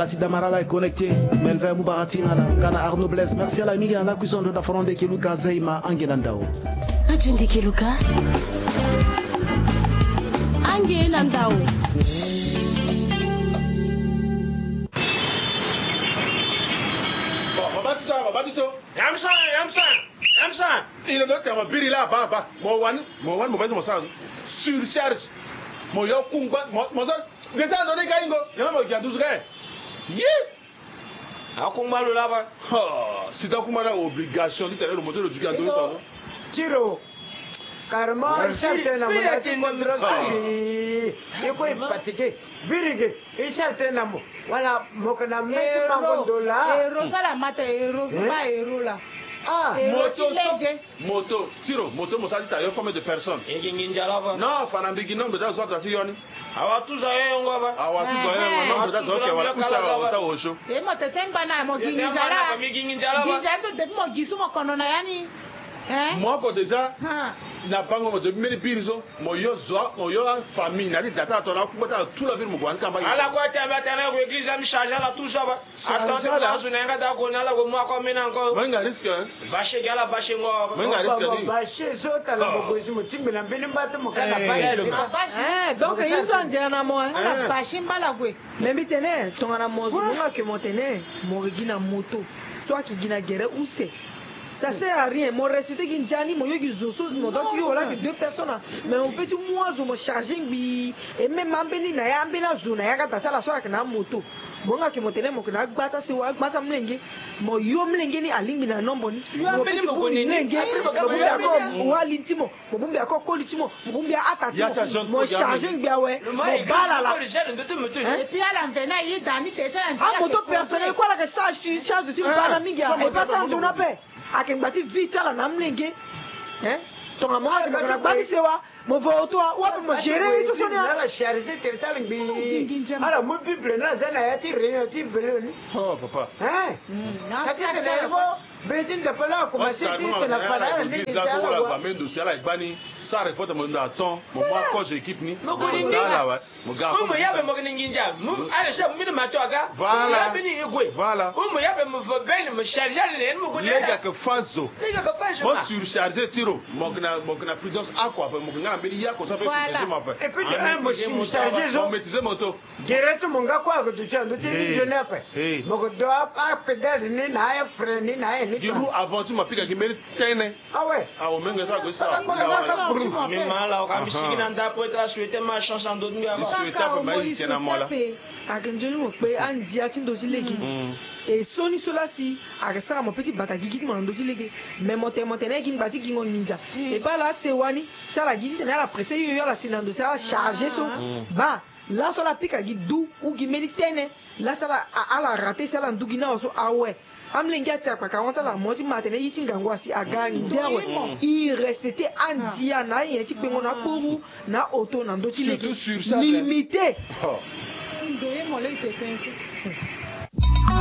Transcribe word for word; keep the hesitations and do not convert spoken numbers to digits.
Ti Damarala est connecté. Melvin Mubarati na la, nga na Arnaud Blaise. Merci ala mingi na la cuisson de la fronde ke luka Zeima ange na ndao. Radio Ndeke Luka. Ange na ndao. Bon, mama ti sa, mama ti so. Yamsa, yamsa, yamsa. Il est temps mo biri la, ba, ba. Mo wani, mo wani, mo basi mo sa. Surcharge. Mo yo kungba, mo, mo sa. Déjà, ando ni ka ingo. Yana mo gi anduzu ka. Yi. Akungba lo laba. Ha, si ta kungba na obligation ti tene lo moto lo juki ando ni. Tiro. Carrément, il sert un amour. Il est fatigué. Birigi, il sert un amour. Voilà, mo kana meti mango dola. Ero sala mata, ero so ba ero la. Ah, moto so. Moto, Tiro, moto mo sa ti ta yo combien de personnes? E gi nginza laba. Non, fa na mbigi nombre ta zo ata ti yo ni. Awa tuza yo yongo ba. Awa tuza yo yongo, nombre ta zo ke wala kusa wa ta osho. E mo tete mbana mo gi nginza la. Mi gi nginza laba. Nginza so depuis mo gi so mo kono na yani. Hein? Mo ko déjà na bango mo depuis mbeni biri so. Mo yo zo, mo yo famille na ti data to na kuba ta tout la ville mo gwani kamba. Ala ko tamba tana ko église la mi charge ala tout ça ba. Attention, ala zo na yanga da ko na ala ko mo ko mena encore. Mo nga risque, hein? Bache gala bache ngo. Mo nga risque ni. Bache so tala mo ko mo timbe na mbeni mbata mo kana bache. Eh, donc il zo ndia na mo, hein? Ala bache mbala gwe. Mais mbi tene tongana mo zo mo nga ke mo tene mo gi na moto. Soit ki gi na gere use. Ça sert à rien. Mo respecté gi ndia ni, mo yo gi zo so mo doit ti yo wala ke deux personnes, hein. Mais mo peut ti mu azo mo chargé ngbii. Et même ambeni na ya, ambeni azo na ya ka da ti ala so ayeke na amoto. Mo nga ke mo tene mo ke na agba ti asewa, agba ti amolenge. Mo yo molenge ni alingbi na nombo ni. Mo peut ti bongbi molenge. Mo bongbi ako wali ti mo. Mo bongbi ako koli ti mo. Mo bongbi ata ti mo. Mo chargé ngbii awe. Mo baa lala. Et puis ala mvene aye da ni te ti ala ndia. Amoto personnel kue ala yeke charge ti, charge ti mbana mingi. Et pas ti anzoni ape. Ayeke ngba ti vie ti ala na amolenge. Hein? Tongana mo nga ti mo yeke na gba ti sewa, mo vo auto awe ape mo gérer ye so so ni. Ala chargé tere ti ala ngbii. Ala mu Bible ni aza na ya ti réunion ti vélo ni. Oh papa. Hein? Ake tene fo be ti Nzapa la akomanse ti tene fana ala ni ti ala wa. Mendo si ala gbani. Sara e fo tene mo ndo aton mo mu akozo équipe ni. Mo ga awe. Mu mo yabe mo kini nginza. Mu ala sha mu mini mato aga. Voilà. Mu yabe ni igwe. Voilà. Mu mo yabe mo vo beni mo charge ni mo kini. Lega ke fazo. Lega ke fazo. Mo surchargé Tiro. Mo kina, mo kina prudence aqua pe mo kina mbeni yako sa pe maîtriser mo pe. Et puis de un mo surchargé zo. Mo maîtriser moto. Gere ti mo nga kue ake duti ando ti ni jeune ape. Mo ke do apédale ni na afrein ni na aye ni. Gi roue avant ti mo apika gi mbeni tene. Ah ouais. Ah, omenge so ague sara. Mi ma ala oka mi sigi na nda apo e tara souhaiter ma chance na ndo ti mbi ape. Souhaiter ape ma e yeke na mo la. Ake nzoni mo kpe andia ti ndo ti lege. E so ni so la si ake sara mo pe ti bata gigi ti mo na ndo ti lege. Mais mo tene mo tene gi ngba ti gingo nginza. E baa ala asewa ni ti ala gi titene ala presse yo yo ala si na ndo si ala chargé so. Baa laso ala pika gi du ou gi mbeni tene. Laso ala, ala raté si ala ndu gi na awe so awe. Amolenge ati akpaka ahon ti ala mo ti ma atene ye ti ngangu asi aga nde awe. I respecté andia na anyen ti kpengo na akporu na auto na ndö ti lege. Limité. Ndo ye mo lege tete so.